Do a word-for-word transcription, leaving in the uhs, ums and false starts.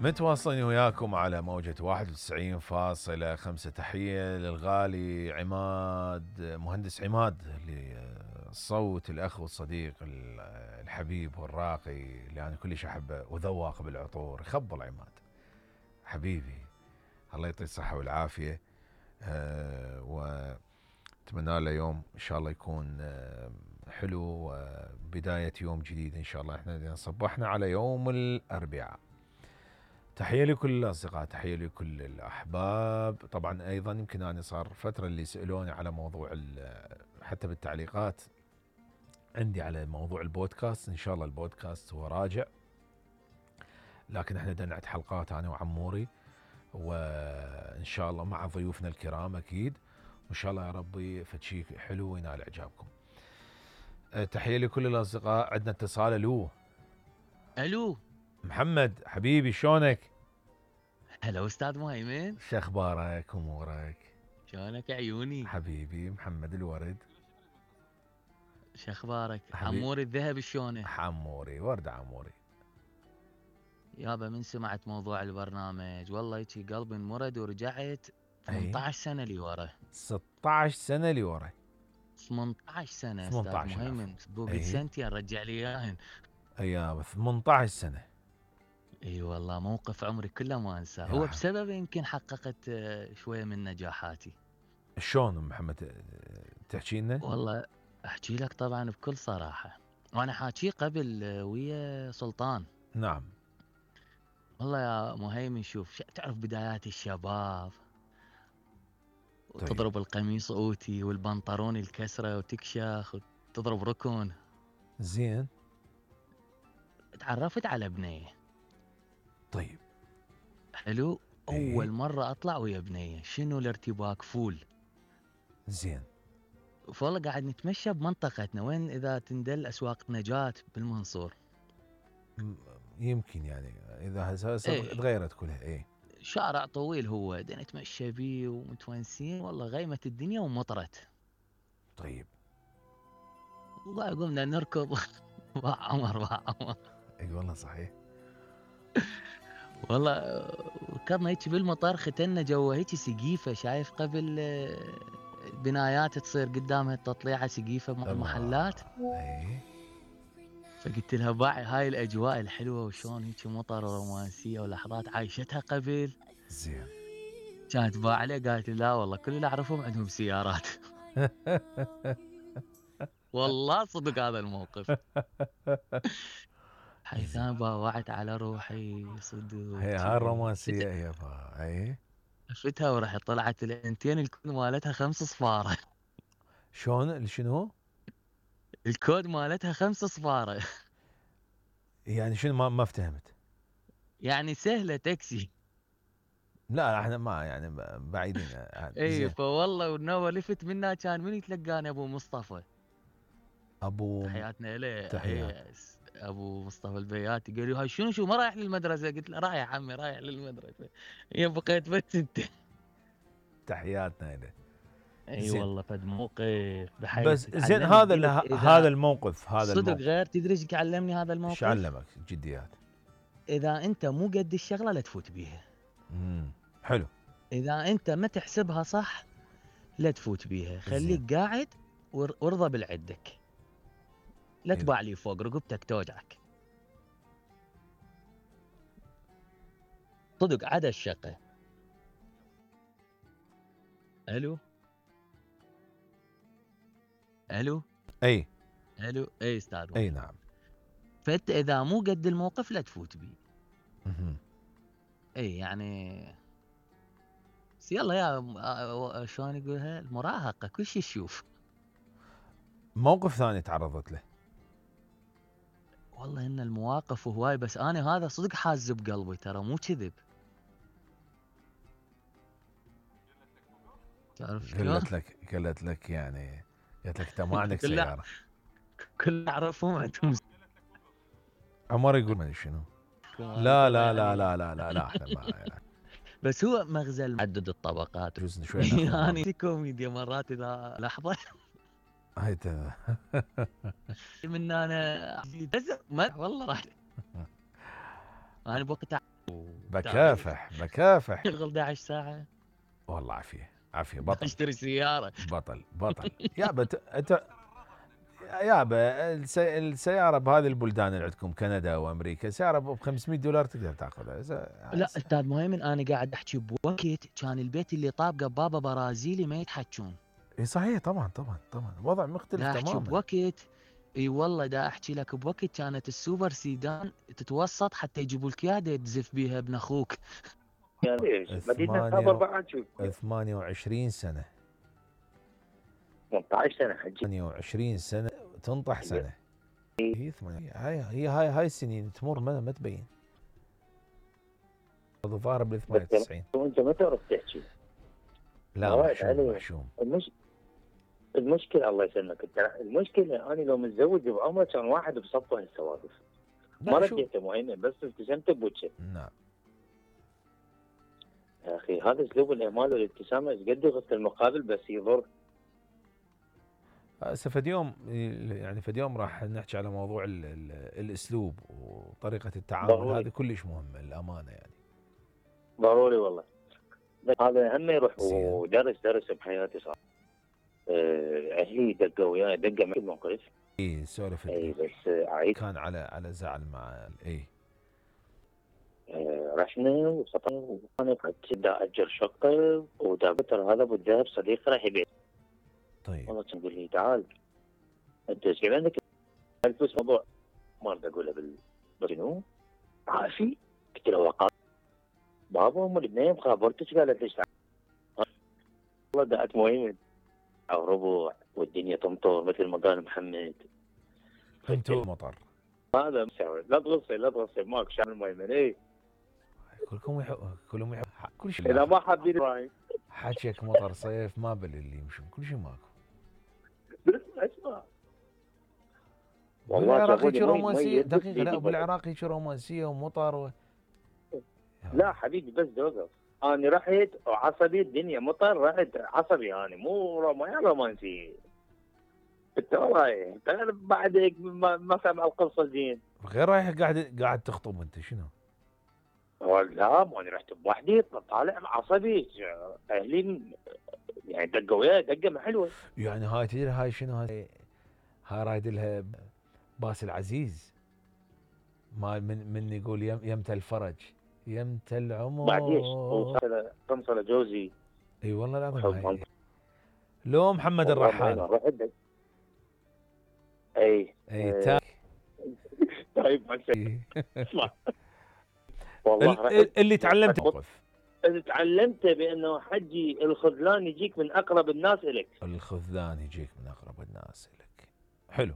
متواصلين وياكم على موجة واحد وتسعين فاصلة خمسة. تحية للغالي عماد، مهندس عماد، الصوت، الأخ والصديق الحبيب والراقي اللي أنا كلش أحبه، وذواق بالعطور. يخبل عماد حبيبي، الله يعطيه الصحة والعافية. أه واتمنى له يوم إن شاء الله يكون أه حلو، وبداية يوم جديد إن شاء الله. إحنا صبحنا على يوم الأربعاء. تحية لكل الأصدقاء، تحية لكل الأحباب. طبعا أيضا يمكن أنا صار فترة اللي سألوني على موضوع حتى بالتعليقات عندي على موضوع البودكاست. إن شاء الله البودكاست هو راجع، لكن احنا بدنا نعد حلقات أنا وعموري، وإن شاء الله مع ضيوفنا الكرام أكيد، وإن شاء الله يا ربي فشي حلو وينال إعجابكم. تحية لكل الأصدقاء. عندنا اتصال. ألو ألو محمد حبيبي، شلونك؟ هلا أستاذ مهيمن، شو أخبارك أمورك؟ شلونك عيوني حبيبي محمد الورد، شو أخبارك؟ عموري الذهب شلونه؟ عموري ورد عموري. يابا من سمعت موضوع البرنامج والله هيجي قلبي انمرد ورجعت ثمانية عشر سنة لي ورا. ستة عشر سنة لي ورا. ثمانية عشر سنة أستاذ مهيمن، بوقت سنتين رجع لي إياهن. أيوة ثمانية عشر سنة. اي والله موقف عمري كله ما انساه، هو بسببه يمكن حققت شويه من نجاحاتي. شلون محمد تحكي لنا؟ والله احكي لك طبعا بكل صراحه، وانا حاكي قبل ويا سلطان. نعم. والله يا مهيمن شوف، تعرف بدايات الشباب، طيب. وتضرب القميص اوتي والبنطلون الكسره وتكشخ وتضرب ركون. زين. تعرفت على بنيه. طيب حلو. ايه؟ اول مره اطلع ويا بنيه، شنو الارتباك فول. زين. فوالله قاعد نتمشى بمنطقتنا، وين اذا تندل اسواق نجاة بالمنصور. يمكن يعني اذا هسه ايه. تغيرت كلها. ايه شارع طويل هو، دنا نتمشى بيه ومتونسين، والله غيمت الدنيا ومطرت. طيب والله قمنا نركض با عمر با عمر. اي والله صحيح. والله ركضنا هيك بالمطر، ختنا جوا هيك سقيفه، شايف قبل بنايات تصير قدامها تطليعه سقيفه محلات. اي. فقلت لها باعي هاي الاجواء الحلوه وشون هيك مطر ورومانسيه ولحظات عايشتها قبل. زين. كانت باع عليه، قالت لي لا والله كل اللي اعرفهم عندهم سيارات. والله صدق هذا الموقف. حيث انا باوعت على روحي صدق. هي هاي الرومانسيه هي اي. شفتها ورحت طلعت الانتين الكود مالتها خمس صفاره. شلون شنو؟ الكود مالتها خمس صفاره. يعني شنو؟ ما ما فهمت. يعني سهله تاكسي. لا احنا ما يعني بعيدين. اي فوالله والنوى لفت منا، كان من يتلقاني؟ ابو مصطفى. ابو تحياتنا له. تحيات. ابو مصطفى البياتي. قال لي هاي شنو شو ما رايح للمدرسه؟ قلت له رايح عمي رايح للمدرسه. يا بقيت بس انت. تحياتنا له. اي والله فد موقف بحيث. بس زين هذا هذا الموقف هذا صدق الموقف. غير تدري ايش علمني هذا الموقف؟ ايش علمك؟ جديات. اذا انت مو قد الشغله لا تفوت بيها. امم حلو. اذا انت ما تحسبها صح لا تفوت بيها. خليك زين. قاعد وارضى بالعدك، لا تباع لي فوق رقبتك توجعك. صدق عدا الشقه. الو الو اي الو اي استاذ. اي نعم. فانت اذا مو قد الموقف لا تفوت بيه. اها. اي يعني يلا يا شلون يقولها، المراهقه كل شيء تشوف. موقف ثاني تعرضت له؟ والله ان المواقف هواي، بس انا هذا صدق حاز بقلبي ترى مو كذب. تعرف شلون؟ قلت لك قلت لك يعني قلت لك انت ما عندك سياره. كل اعرفهم عندهم. عمر يقول ما شنو. لا لا لا لا لا لا لا احنا ما يعني. بس هو مغزى عدد الطبقات. جزء شوي يعني في كوميديا مرات اذا لحظه. هاي من انا ما والله راح. انا بوقتها بكافح بكافح شغل احد عشر ساعه والله عافيه عافيه بطل اشتري سياره. بطل بطل يابا انت يابا السي... السياره بهذه البلدان اللي عندكم كندا وامريكا سياره ب خمسمية دولار تقدر تاخذها. لا استاذ مهيمن انا قاعد احكي بوقت كان البيت اللي طابقه بابا برازيلي ما يتحجون. اي صحيح طبعا طبعا طبعا وضع مختلف دا احكي تماما. بوقت اي والله دا احكي لك بوقت كانت السوبر سيدان تتوسط حتى يجيبوا لك اياها تزف بيها ابن اخوك. مدينه خبر بعد شو ثمانية وعشرين سنه ثمانية عشر سنه حجي ثمانية وعشرين سنه تنطح سنه. هي ثمانية هاي هي هاي هاي السنين تمر ما, ما تبين. الظاهر بال ثمانية وتسعين وانت متى رحت تحكي؟ لا محشوم محشوم. المش... المشكله الله يسلمك المشكله انا لو متزوج بعمره كان واحد بصفه هالسوالف ما رديته مهيمن بس ابتسمت بوجهه. نعم يا اخي هذا اسلوب الاهمال والابتسامه ايش قد يغث المقابل بس يضر. هسه فد يوم يعني فد يوم راح نحكي على موضوع ال ال الاسلوب وطريقه التعامل. هذا كلش مهم الامانه يعني ضروري والله. هذا هم يروح ودرس درس بحياتي صار اهلي دقوا وياي دقه معي الموقف. اي سولف اي بس عيد كان على على زعل مع اي آه رحنا وسطنا وانا كنت دا اجر شقه ودابتر هذا ابو الذهب صديقي راح يبيع. طيب والله تقول لي تعال انت ايش عندك الفلوس موضوع ما اريد اقولها بال شنو عافي قلت له وقال بابا ام البنيه مخابرتك قالت ليش والله دقت مهيمن او ربع والدنيا تمطر مثل ما قال محمد. انتو مطر هذا مسوي لا تغصي لا تغصي ماك شان المهيمن اي كلكم يحب كلهم يحب كل شيء. اذا ما حابين ابراهيم حكيك مطر صيف ما بل اللي يمشون كل شيء ماكو. بس اسمع والله بالعراق هيك رومانسيه دقيقه. لا بالعراق هيك رومانسيه ومطر و... لا حبيبي بس دوقف انا رحت وعصبي الدنيا مطر رحت عصبي انا مو رومانسي. انت والله بعد هيك ما سامع القصه زين. غير رايح قاعد قاعد تخطب انت شنو؟ لا ما انا رحت بوحدي طالع عصبي اهلي يعني دقوا وياي دقه ما حلوه. يعني هاي تدري هاي شنو هاي هاي رايد لها باس العزيز ما من من يقول يم يمت الفرج يمت العمر بعديش تنصل جوزي. اي والله العظيم. لو محمد الرحال اي اي تاك طيب اسمع والله اللي تعلمت موقف اللي تعلمته بانه حجي الخذلان يجيك من اقرب الناس اليك. الخذلان يجيك من اقرب الناس اليك. حلو.